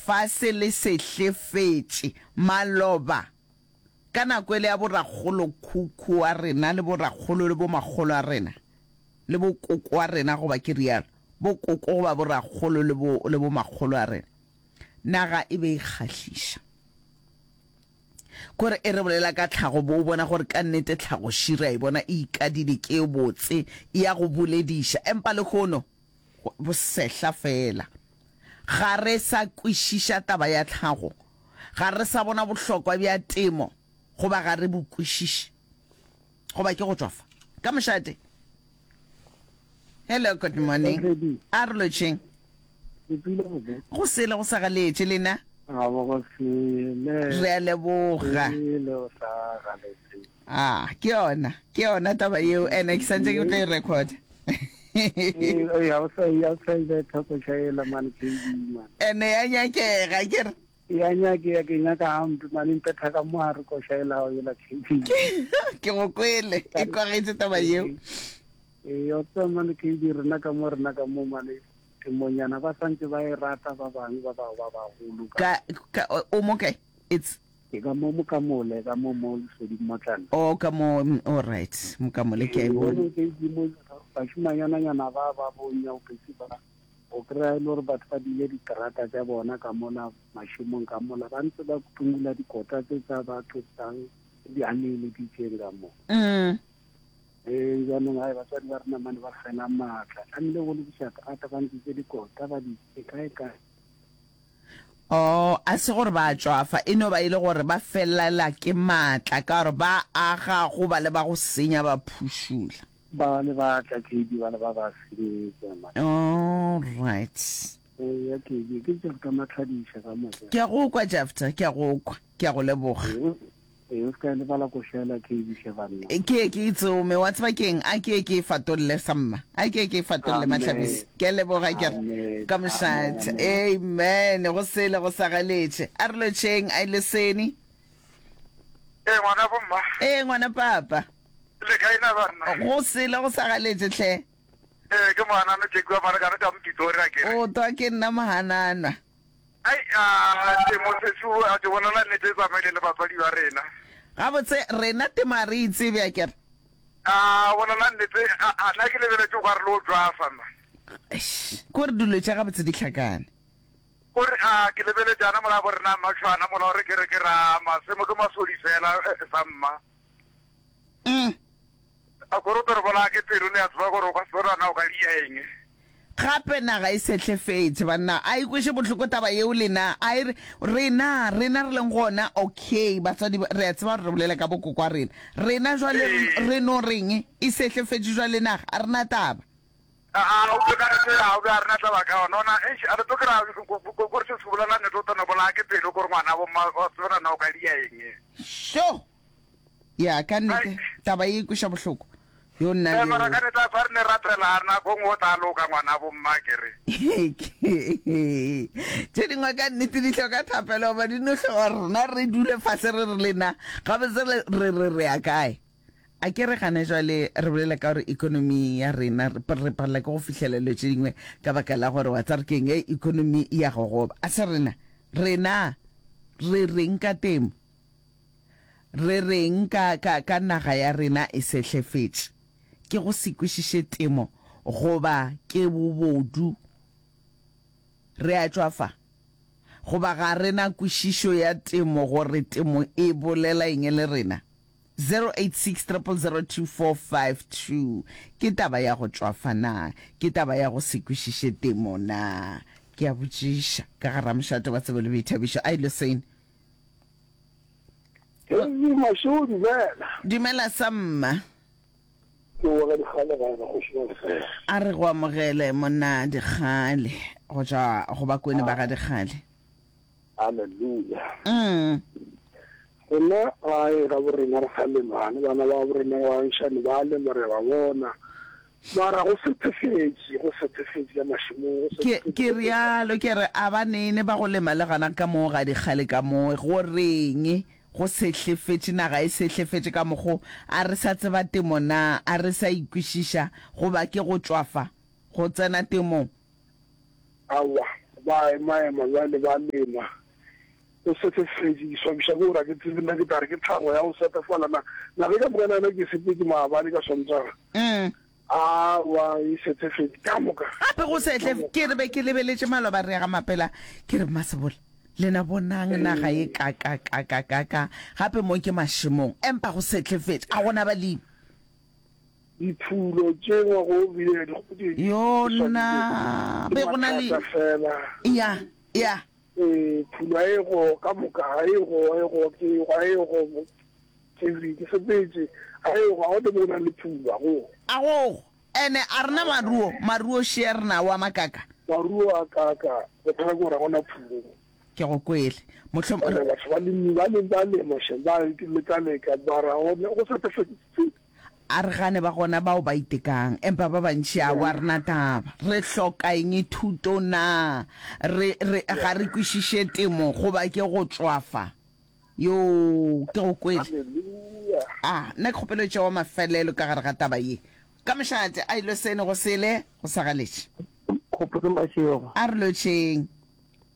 Lefase le sehlefetše. Maloba, ka nako ele ya borakgolokhukhu wa rena le borakgolo le bomakgolo a rena, le bokoko wa rena, goba ke realo, bokoko goba borakgolo le bo, le bomakgolo a rena, naga e be e kgahliša. Kore e re bolela ka tlhago, bo o bona gore ka nnete tlhago ši re a e bona e ikadile, ke e botse, e ya go bolediša. Empa lehono, bosehla feela. Ga re sa kwešiša taba ya tlhago. Ga re sa bona bohlokwa bja temo, goba ga re bo kwešiše. Goba ke go tšwafa. Ka mošate. Hello, good morning. A re lotšheng. Go sele go sa galetše lena. Re a leboga. Ah, ke yona, ke yona taba yeo, ene ke santse ke tlo e recorda. Ene ya nyakega, ke re. Ya nyakega, ke nyaka hampe mane mpetha ka mo gare koša ela gago yela KB. Ke go kwele, e kwagetše taba yeo. Ee, o tseba mane KB rena ka mo rena ka mo mane temonyana ba santse ba e rata ba bangwe ba ba ba bagolo ka. Ka, ka, o mo kae? It's. Ke ka mo Mokamole, ka mo mo Lesedi Mmotlana. Oh, ka mo, all right, Mokamole ke a e bona. Ke itse mo bašimanyana-nyana ba ba bo nyaopetsi ba, o kry-a e le gore batho ba dile diterata tša bona ka mola mašemong ka mola, ba ntse ba tungula dikota tse tsa batho tsang di aneeleditseng ka mo. Mm. Ee, jaanong hai batswadi ba rena mane ba fela maatla, tlamehile go lokiša terata ba ntšitse dikota ba di kae kae. Oh, a se gore ba a tšwafa, e no ba e le gore ba felela ke maatla ka gore ba aga go ba le ba go senya ba phušula. Ba le ba tla KB ba le ba ba senyetsa man. All right. Eya KB, ke Jefta Matlhadiša ka moka. Ke a go kwa Jefta, ke a go kwa. Ke a go leboga. Ee, o se ka e lebala košela KB hle banna. Ke ye ke e tsome, wa tseba ke'ng? A ke ye ke e fatolle samma. A ke ye ke e fatolle Mahlabisi. Ke a leboga ke re ka mošate. Amen. Go sele go sa galetše. A re lotšheng, a ileseni. Ee, ngwana bomma. Ee, ngwana papa. Le kae na banna? Go sele go sa galetše hle. Ee, ke mohanano Jackie wa Marekane ka Mpitori a ke re. O twa ke nna mohananwa. Ai, a temo sešo, a ke bolela nnete e tsamaile le batswadi ba rena. Gabotse, rena temo a re e tsebe, a ke re. A bolela nnete, a, a nna ke lebeletše o ka re le o tšwafa nna. Eish, ke gore dilo tša gabotse di hlakane. O re, a ke lebeletše ana mola bo rena Mmatšhwana mola o re ke re ke ra masemo ke masodi fela, eh, sa mma. Mm. A kore o tlo re bolaya ke pelo le a tseba gore o ka se tlo nana o ka dia eng. Gape naga e sehlefetše banna a e kweše bohloko taba yeo lena a e re rena rena re leng gona okay batswadi re a tseba gore re bolela ka bokoko wa rena rena jwale re no reng e sehlefetše jwale naga a re na taba. Aa o ka re a o a rena taba ka ona ona eish a re tlo kry-a kore se se bolela nnete o tlo no bolaya ke pelo kore ngwana bo mma wa tseba na o ka dia eng. Sho! Ya, ka nnete, taba ye e kweša bohloko. Yo nna le. Mara ka nnete a sa re ne rapela nako nngwe o tla loka ngwana bo mma ke re. Tše dingwe ka nnete di hloka thapelo goba di no hloka gore rena re dule fase re re lena gabotse re re re re ya kae. A ke re gane jwale re bolela ka gore economy ya rena re palela ke go fihlela dilo tše dingwe ka baka la gore wa tseba re keng e economy e ya gogoba. A se rena rena re reng ka temo? Re reng ka, ka, ka naga ya rena e sehlefetše? Ke go se kwešiše temo goba ke bobodu? Re a tšwa fa. Goba ga re na kwešišo ya temo gore temo e bolela eng le rena? 086 000 2452 Ke taba ya go tšwafa na? Ke taba ya go se kwešiše temo na? Ke a botšiša. Ka ga Ramošate wa Tsebo le Boithabišo, a Ilosane. Hei Mašeo dumela. Dumela samma. Ke wa ga Dikgale ga ena kgoši ya lefela. A re go amogele monna Dikgale go tšwa go Bakone ba ga Dikgale. Hallelujah. Mm. Rena gae ga borena re sa lema, le bana ba borena ba bangšane ba lema re ba bona. Mara go sethefetše, go sethefetše ka mašemong, go Ke, sethefetše ke go realo, ke re, a ba nene ba go lema le gona ka moo ga dikgale ka moo, go reng go sehlefetše, naga e sehlefetše ka mokgo, a re sa tseba temo na, a re sa ikwešiša, goba ke go tšwafa go tsena temong? Aowa. Ba emaema bjale ba lema. Go sefefetše, ke swabiša ke gore ga ke tsebe nna ke tla re ke tlhago ya go sefefala na. Na ge ka moka nana ke sepetše maabane ka Sontaga. Aowa, e sefefetše ka moka. Gape go sehle, ke re be ke lebeletše maloba re ya ga Mapela, ke re Mmasebola, lena bonang naga ye kakakakakaka, gape mo ke mašemong, empa go sehlefetše, a gona balemi. Diphulo tše ngwago o bile di di Yona, ke be go na le, mathata fela. ya, ya. Ee, phulo ga e go ka moka, ga e go, ga e go, ke ga e go, ke re ke sepetše, ga e go, ga go mo go nang le phulo, ga go. A go, ene a rena maruo, maruo šea re nawo a makaka. Maruo a kaka, bothata ke gore ga go na phulo. Ke go kwele. Mohlom-. Ene batho ba lemi, ba lemi, ba lema shem, ba leka-leka, mara go sa fetše. A re gane ba gona bao ba itekang, empa ba bantši aowa re na taba. Re hloka eng thuto na? Re, re, ga re kwešiše temo goba ke go tšwafa? Yoo, ke go kwele. A, nna ke kgopelo tšewa mafelelo ka gare ga taba ye. Ka mošate, a ilo sene go sele, go sa galetše. Kgopotso Mashego. A re lotšheng.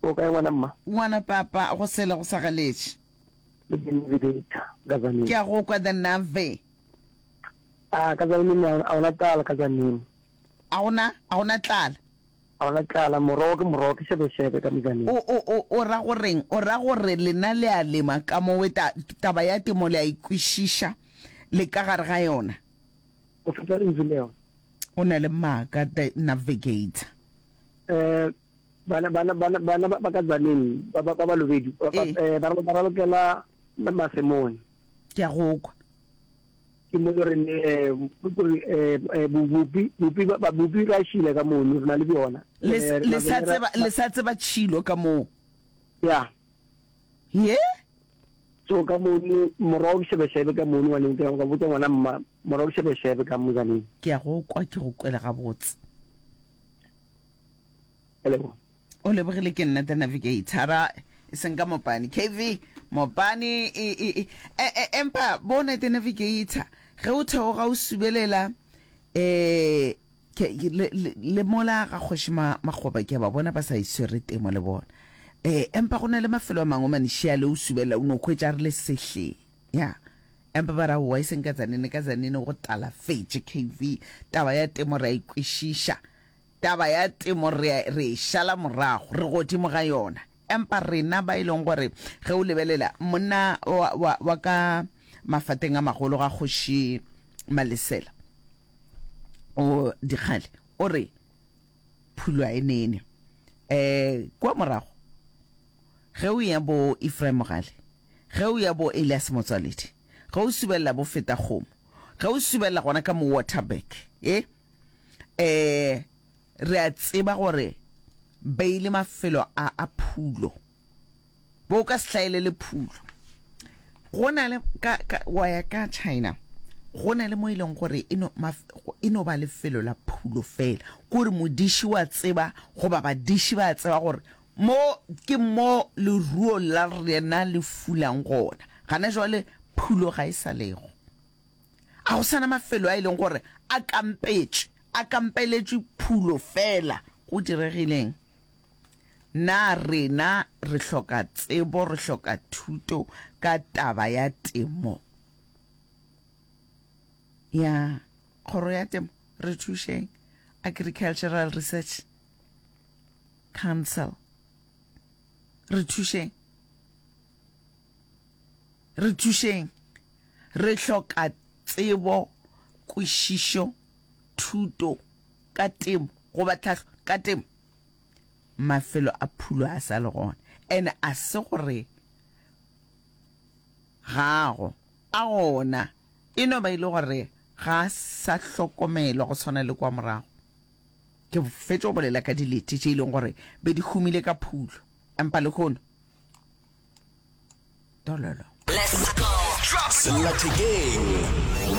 O kae ngwana mma? Ngwana papa, go sele go sa galetše. Le the navigator ka Tzaneen. Ke a go kwa the navi. A ka Tzaneen a gona tlala ka Tzaneen. A gona a gona tlala. A gona tlala morogo ke morogo ke shebeshebe ka mo Tzaneen. O o o o ra go reng? O ra gore lena le a lema ka mowe ta taba ya temo le a e kwešiša le ka gare ga yona? O fetsa lentšu leo. O na le maaka the navigator. Eh Bana, bana, bana, bana ba, ba ka Tzaneen, ba, ba, ba Balobedu, ba, ba, Ee. eh, ba, ba ralokela masemong. Ke a go kwa. Ke mo re ne, eh, kore, eh, eh, bo, bopi, bopi, ba, ba, bopi ra šila ka mono, re na le bjona. Le, Eh, le sa mabele ra, tseba, le sa tseba tšhilo ka moo. Ya. Ye? So ka mono, morogo ke šebešebe ka mono, ngwaneng, ke ka botša ngwana mma, morogo ke šebešebe ka mo Tzaneen. Ke a go kwa, ke go kwele gabotse. Ke a leboga. O lebogile ke nna the navigator e seng ka mopane KV mopane e e e e empa bona the navigator ge o theoga o subelela eh ke le, le, le mola ga kgoši ma makgoba ke ba bona ba sa iswere temo le bona eh empa go na le mafelo a mangwe manišia le o subelela o no hwetša re le sehleng ya empa ba ra wa e seng ka Tzaneen ka Tzaneen go talafetše KV taba ya temo re a ikwešiša Taba ya temo re a, re e šala morago, re godimo ga yona. Empa rena ba e leng gore ge o lebelela monna wa, wa, wa ka mafateng a magolo ga Kgoši Malesela, o Dikgale, o re phulo a e nene. Eh, kua morago, ge o ya bo Ephraim Mogale, ge o ya bo Elias Motswaledi, ge o subelela bo Fetakgomo, ge o subelela gona ka mo Waterberg, e, eh re a tseba gore beile mafelo a a phulo bo ka se hlaelele phulo go na le ka, ka wa ya ka China go na le mo e leng gore e no, maf, e no ba lefelo la phulo fela kore modiši wa tseba goba badiši ba tseba gore mo ke mo leruo la rena le fulang gona gana jwale phulo ga e sa lego A go sa na mafelo a e leng gore a kampetšwe, a kampeletšwe phulo feela? Go diregileng? Na rena re hloka tsebo, re hloka thuto ka taba ya temo? Ya, Kgoro ya Temo, re thušeng. Agricultural Research Council, re thušeng. Re thušeng. Re hloka tsebo, kwešišo, thuto ka temo goba tlhahlo ka temo. Mafelo a phulo a sa le gona ene a se gore ga ago, a gona e no ba e le gore ga a sa hlokomelwa go swana le kwa morago. Ke fetša go bolela ka dilete tše e leng gore be di humile ka phulo empa lehono Dololo. Sellathekeng,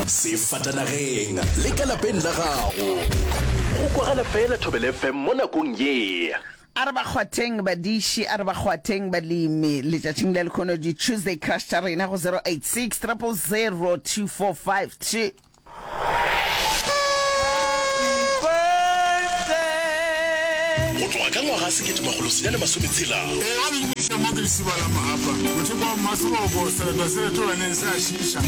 sefatanageng le ka lapeng la gago. Go kwagala fela Thobela FM mo nakong ye. A re ba kgwatheng badiši, a re ba kgwatheng balemi letšatšing la lekhono di Tuesday Crush tša rena go 086 000 2452. Go tloga ka ngwaga 1960. Ee, wa le dumediša mo ke Lesiba la Mahapa, mothopo wa Mmaseboko, sereto se retolaneng se a šiiša.